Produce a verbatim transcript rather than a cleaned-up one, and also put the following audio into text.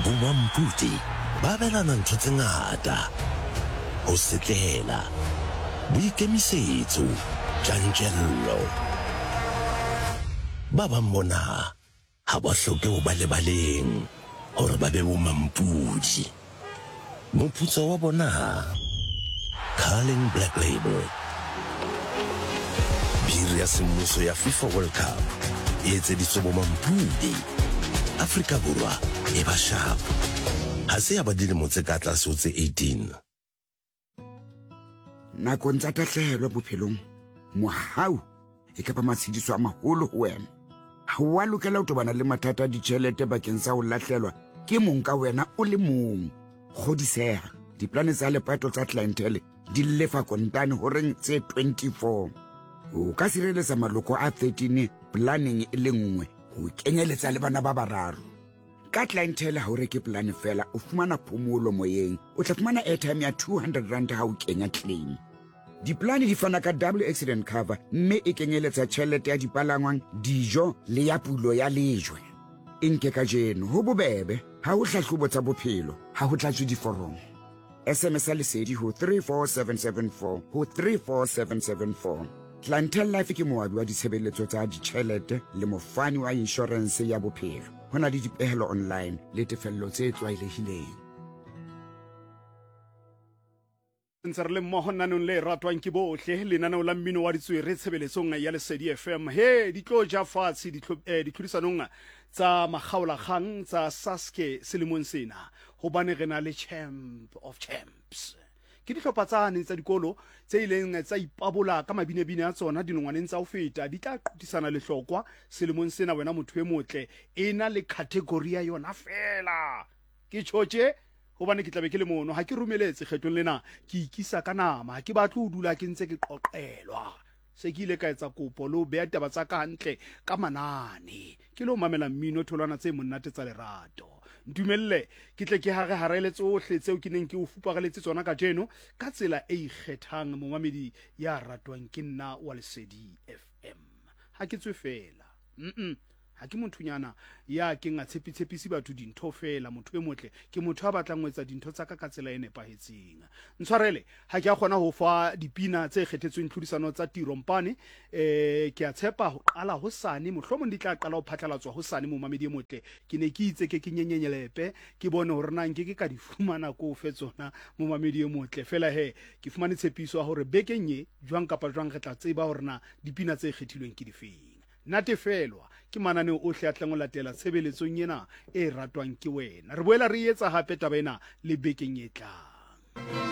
Bomampudi ba abelana ntho tse ngata, ho setlela, boikemisetso, tjantjello. Ba bang bona ha ba hloke ho ba lebaleng hore ba be bomampudi. Moputso wa bona, Carling Black Label, biri ya semmuso ya FIFA World Cup e etseditswe bomampudi. Afrika Borwa e ba sharp. Ha se ya ba dilemo tse ka tlase ho tse eighteen. Nakong tsa tahlehelo bophelong, mohau e ka ba matshediso a maholo ho wena. Ha o a lokela ho tobana le mathata a ditjhelete bakeng sa ho lahlelwa ke mong ka wena o le mong. Kgodiseha, diplane tsa lepato tsa Clientele di lefa kontane horeng tse twenty-four. O ka sireletsa maloko a thirteen planeng e le nngwe, ho kenyeletsa le bana ba bararo. Ka Clientele ha o reke plane feela, o fumana phomolo moyeng. O tla fumana airtime ya two hundred rand ha o kenya claim. Diplane di fana ka double accident cover mme e kenyeletsa tjhelete ya dipalangwang, dijo le ya pulo ya lejwe. E nke kajeno, ho bobebe, ha ho hlahlobo tsa bophelo, ha ho tlatswe diforomo. S M S ya Lesedi ho three four seven seven four ho three four seven seven four. Clientele Life ke moabi wa ditshebeletso tsa ditjhelete le mofani wa inshorense ya bophelo. Ho na le dipehelo online le tefello tse tlwaelehileng. Ntse re le mmoho nanong le ratwang ke bohle, lenaneo la mmino wa ditswere tshebeletsong ya Lesedi F M. He, di tlo ja fatshe ditlho-, eh, ditlhodisanong tsa makgaolakgang tsa Saske selemong sena, hobane re na le Champ of Champs. Ke dihlopha tsane tsa dikolo tse ileng tsa ipabola ka mabinebine a tsona dinongwaneng tsa ho feta, di tla qothisana lehlokwa selemong sena. Wena motho e motle, e na le category ya yona feela. Ke tjhotje hobane ke tlabe ke le mono, ha ke romeletse kgetlong lena, ke ikisa ka nama, ha ke batle ho dula ke ntse ke qoqelwa. Se ke ile ka etsa kopo le ho beha taba tsa ka hantle ka manane, ke lo mamela mmino tholwana tse monate tsa lerato. Ntumelle ke tle ke hare harele tsohle tseo ke neng ke o fupareletse tsona kajeno ka tsela e ikgethang, momamedi ya ratwang ke nna wa Lesedi F M. Ha ke tswe feela, mm-mm, ha ke mothonyana ya keng a tshepitshepisi batho dintho feela. Motho e motle ke motho a batlang ho etsa dintho tsa ka ka tsela e nepahetseng. Ntshwarele ha ke a kgona ho fa dipina tse kgethetsweng tlhodisano tsa Tirompane. Eh, ke a tshepa ho qala hosane, mohlomong di tla qala ho phatlalatswa hosane. Momamedi e motle, ke ne ke itse ke ke nyenyenyelepe ke bone hore na nke ke ka di fumana ko fe tsona, momamedi e motle. Feela he, ke fumane tshepiso ya hore bekeng e jwang kapa jwang re tla tseba hore na dipina tse kgethilweng ke difeng. Natefelwa ke mananeo ohle a tlang ho latela tshebeletsong ena e ratwang ke wena. Re boela re etsa hape taba ena le bekeng e tlang.